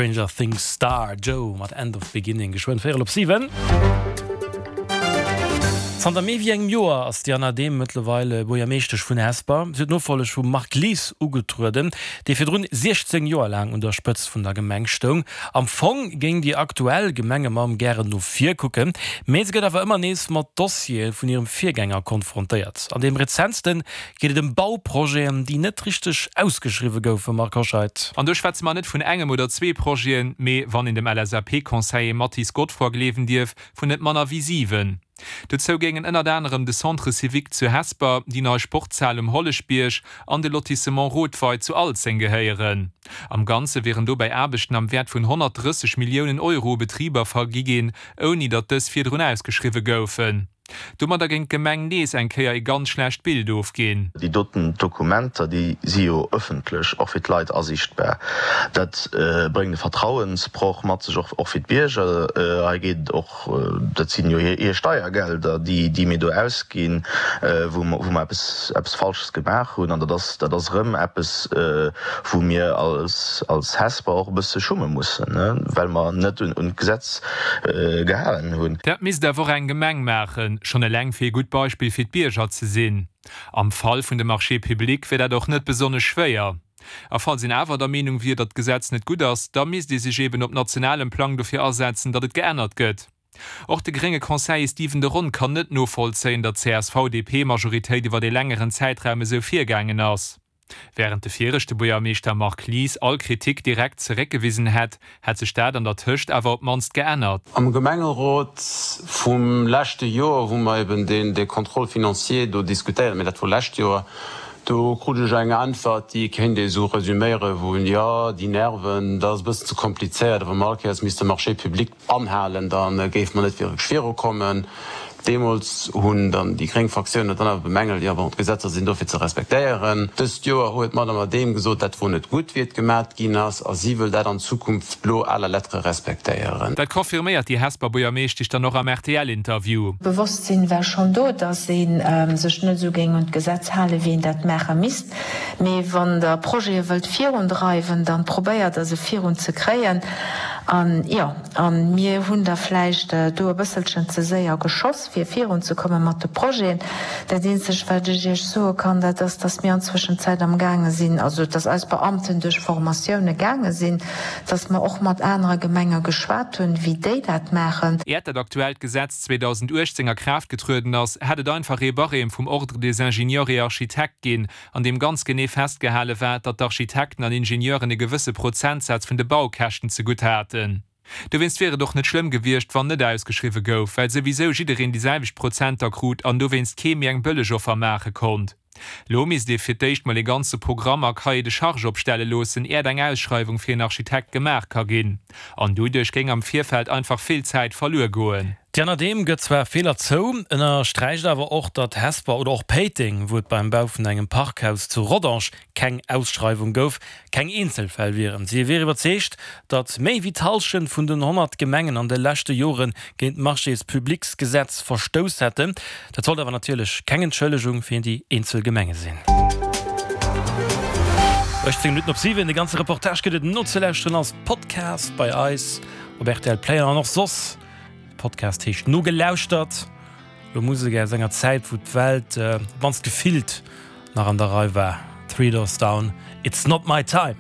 Stranger Things Star Joe mat End of Beginning, geschwënn véierel op 7. Zanter méi wéi engem Joer ass d'Diana Dehm mëttlerweil Buergermeeschtesch vun Hesper. Si huet d'Nofolleg vum Marc Lies ugetrueden, dee virdrun 16 Joer laang un der Spëtzt vun der Gemeng stoung. Am Fong géing déi aktuell Gemengemamm gären no vir kucken, mee se gëtt awer ëmmer nees mat Dossiere vun hirem Virgänger konfrontéiert. An deem rezentste geet et ëm Bauprojeten, déi net richteg ausgeschriwwe goufen, Marc Hoscheid. An do schwätze mer net vun engem oder zwee Projeten, mee, wann een dem LSAP-Conseiller Mathis Godefroid gleewen dierf, vun net manner wéi 7. Dozou géingen ënnert anerem de Centre civique zu Hesper, déi nei Sportshal um Holleschbierg an de Lotissement Rothwei zu Alzeng gehéieren. Am Ganze wieren dobäi Aarbechten am Wäert vun 130 Milliounen Euro u Betriber vergi ginn, ouni datt dës virdrun ausgeschriwwe goufen. Domadder géing d'Gemeng nees eng Kéier ee ganz schlecht Bild ofginn. Déi doten Dokumenter, déi si jo ëffentlech, och fir d'Leit asiichtbar. Dat bréngt e Vertrauensbroch mat sech, och fir d'Bierger. Hei geet et och, dat sinn jo hir Steiergelder, déi mir do ausginn, wou mer eppes Falsches gemaach hunn. An dat ass, dat ass erëm eppes, wou mir als Hesper och e bësse schumme mussen, well mer net un d'Gesetz gehalen hunn. Dat misst awer och eng Gemeng maachen, schonn eleng fir ee gutt Beispill fir d'Bierger ze sinn. Am Fall vun de Marchés publics wier dat och net besonnesch schwéier. A falls een awer der Meenung wier, datt d'Gesetz net gutt ass, da misst ee sech eben op nationalem Plang dofir asetzen, datt et geännert gëtt. Och de grénge Conseiller Stephen de Ron kann net novollzéien, datt d'CSV-DP-Majoritéit iwwer ee längeren Zäitraum esou virgaangen ass. Wärend de viregte Buergermeeschter Marc Lies all Kritik direkt zeréckgewisen hätt, hätt sech dat an der Tëscht awer op d'mannst geännert. Am Gemengerot vum leschte Joer hu mer eben dee Contrôle financier do diskutéiert, mee dat wor lescht Joer. Do krut ech eng Äntwert, déi kéint ee sou resüméiere vun, jo, déi Nerven, dat ass e bëssen ze komplizéiert a wa mer all Kéiers misste Marchés publics anhalen, da géife mer net wierklech virukommen. Deemools hunn dann déi gréng Fraktioun dat dann awer bemängelt, jo bon, d'Gesetzer sinn do fir ze respektéieren. Dëst Joer huet d'Madame Adehm gesot, dat wor net gutt, wéi et gemat ginn ass, a si wëll dat an Zukunft lo à la lettre respektéieren. Dat confirméiert déi Hesper Buergermeeschtesch dann och am RTL-Interview. D'Bewosstsinn war schonn do, datt ee sech net esou géing un d'Gesetz halen, wéi een dat maache misst. Mee wann Der Projete wëllt virundreiwen, da probéiert Der se virunzekréien. An jo. A mir hunn da vläicht do e bësselchen ze séier geschoss, fir virunzekomme mat de Projeten. Dat eenzegt, wat ech Iech soe kann, dat ass, dass mir an Zwëschenzäit amgaange sinn, also dass eis Beamten duerch Formatioune gaange sinn, dass mer och mat anere Gemenge geschwat hunn, wéi déi dat maachen. Äert dat aktuellt Gesetz 2018 a Kraaft getrueden ass, hätt et einfach ee Barème vum Ordre des ingénieurs et architectes ginn, an deem ganz genee festgehale war, datt d'Architekten an Ingenieuren e gewësse Prozentsaz vun de Baukäschten zegutt haten. Dowéinst wier et och net schlëmm gewiescht, wann net ausgeschriwwe gouf, well souwisou jiddereen déi selwecht Prozenter krut an dowéinst kee méi eng bëlleg Offer maache konnt. Lo misst ee fir d'éischt mol ee ganze Programm a Cahier de charges opstelle loossen, äert eng Ausschreiwung fir een Architekt gemaach ka ginn. An doduerch géing am Virfeld einfach vill Zäit verluer goen. D'Diana Dehm gëtt zwar Feeler zou, ënnersträicht awer och, datt Hesper oder och Péiteng, wou et beim Bau vun engem Parkhaus zu Rodange keng Ausschreiwung gouf, keng Eenzelfäll wieren. Si wier iwwerzeegt, datt méi wéi d'Hallschent vun den 100 Gemengen an de leschte Jore géint d'Marchés-publics-Gesetz verstouss hätten. Dat sollt awer natierlech keng Entschëllegung fir déi eenzel Gemenge sinn. 18 Minutten op 7, de ganze Reportage gëtt et nozelauschteren als Podcast bei eis op rtl Play an och soss. De Podcast heescht Nogelauschtert. Lo Musek aus enger Zäit, wou d'Welt, op d'mannst gefillt, nach an der Rei war. Three Doors Down, It's Not My Time.